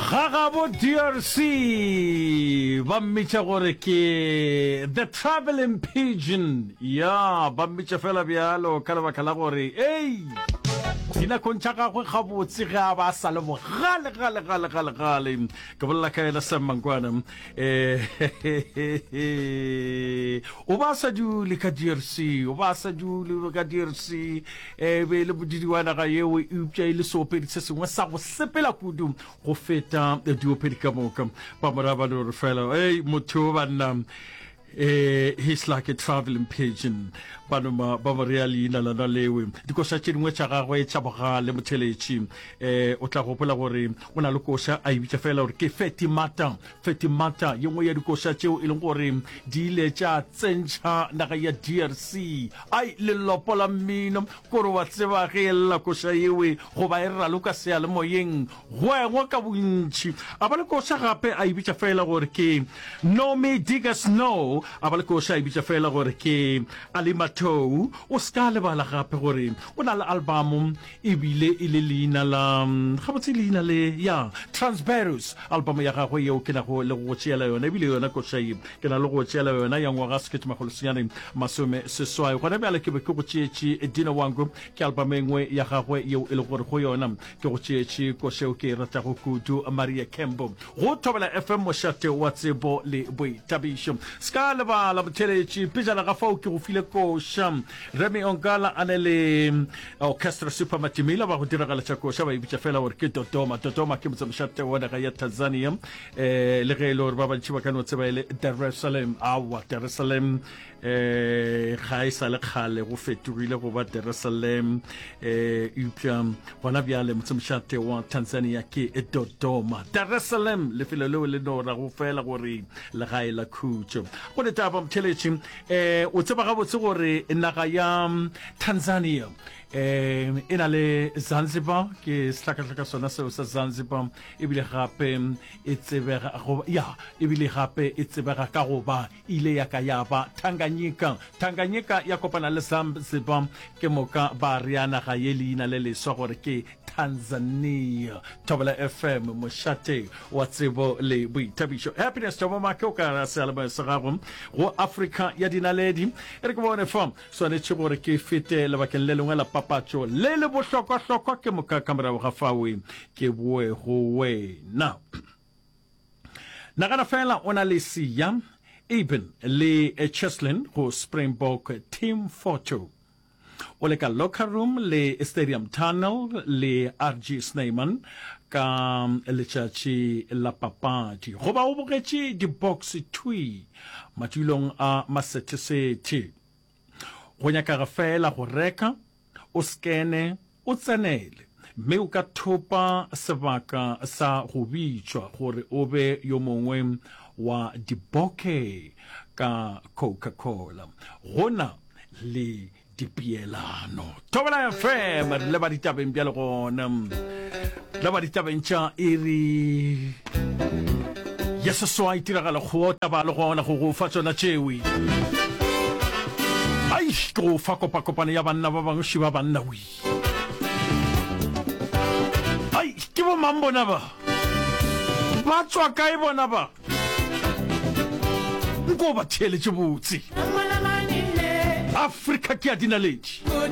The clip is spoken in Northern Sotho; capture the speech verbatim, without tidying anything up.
Gagabo D R C ba mmitša gore ke The Traveling Pigeon. Ya, ba mmitša fela bjalo ka lebaka la gore ei dinakong tša gagwe gabotse ge a ba a sa le bogale gale gale gale gale. Ke bolela ka yena Sam Mankwana. um o ba sa dule ka D R C, o ba sa dule ka D R C, e be e le modidi wa naga yeo, eupša e le seopedi se sengwe sa go sepela kudu go feta diopedi ka moka. Ba moraba le gore fela ei motho o banna, eh he's like a traveling pigeon. Ba noma ba mo rea leina lona lewe. Dikoša tše dingwe tša gagwe tša bogale, motheletši, eh o tla gopola gore o na le koša a e bitša fela gore ke Fetimata. Fetimata ye nngwe ya dikoša tšeo e leng gore di ile tša tsentšha naga ya D R C ai lelopo la mmino, kore wa tseba ge e lla koša yewe goba e raloka seyalemoyeng, go engwa ka bontši. A ba le koša gape a e bitša fela gore ke No Me Digas No. A ba le koša a e bitša fela gore ke Alimatou. O se ka lebala gape gore o na le album, ebile e le leina la gabotse leina le ya Transberus, album ya gagwe yeo ke nago le go tšeela yona, ebile yona koša ye ke na le go tšeela yona ya ngwaga sekete makgolo senyane masome seswai. Gona bjale ke be ke go tšeetše Dino Wango, ke album e nngwe ya gagwe yeo e le gore go yona ke go tšeetše koša eo ke e ratago kudu, Maria Kembo, go Thobela F M, mošate wa tsebo le boithabišo. Se ka lebala, motheletši, pejana ga fao ke go file koša Remy Ongala a ne le Orchestra Super Matimila ba go diragaletša koša ba e bitša fela gore ke Dodoma. Dodoma ke motsemošate wa naga ya Tanzania, um le ge e le gore ba bantši ba ka no tseba e le Dar es Salaam. Aowa, Dar es Salaam um ga e sa le kgale go fetogile go ba Dar es Salaam, um eupša gona bjale motsemošate wa Tanzania ke Dodoma. Dar es Salaam lefelo leo le no rago fela gore legae la khutšo. Go ditaba, motheletši, um o tseba gabotse gore naga ya Tanzania um e na le Zanzibar, ke sehlakahlaka sona seo sa Zanzibar, ebile gape e tsebega go ya ebile gape e tsebega ka go ba ile ya ka ya ba Tanganyika. Tanganyika ya kopana le Zanzibar, ke moka ba rea naga ye leina le leswa gore ke Tanzania. Thobela F M, mošate wa tsebo le boithabišo. Happiness Thobomake o ka seyalemoya sa gago go Afrika ya Dinaledi. E re ke bone fa swanetše gore ke fete lebakeng le lengwe la papatšo le le bohlokwahlokwa, ke moka ka morago ga fawe ke boe go wena. Nagana fela o na le Siya, Eben le Cheslin go Springbok team photo, o le ka locker room le Stadium Tunnel le R G Snyman ka letšatši la papadi, goba o bogetše di-box thwi madulong a masethesethe. Go nyakaga fela go reka, o skene, o tsenele, mme o ka thopa sebaka sa go bitšwa gore o be yo mongwe wa diboke ka Coca-Cola. Go na le dipeelano. Thobela F M, re leba ditabeng bjale gona, leba ditabeng tša iri ya seswai, tiragalo kgota ba le gona go go fa tšona tšewe. Ai, ke go fa kopakopano ya banna ba bangwe šiba banna wi. Ai, ke bo mang bona ba? Ba tswa kae bona ba? Nko ba theeletše botse. Afrika ke ya dinaledi.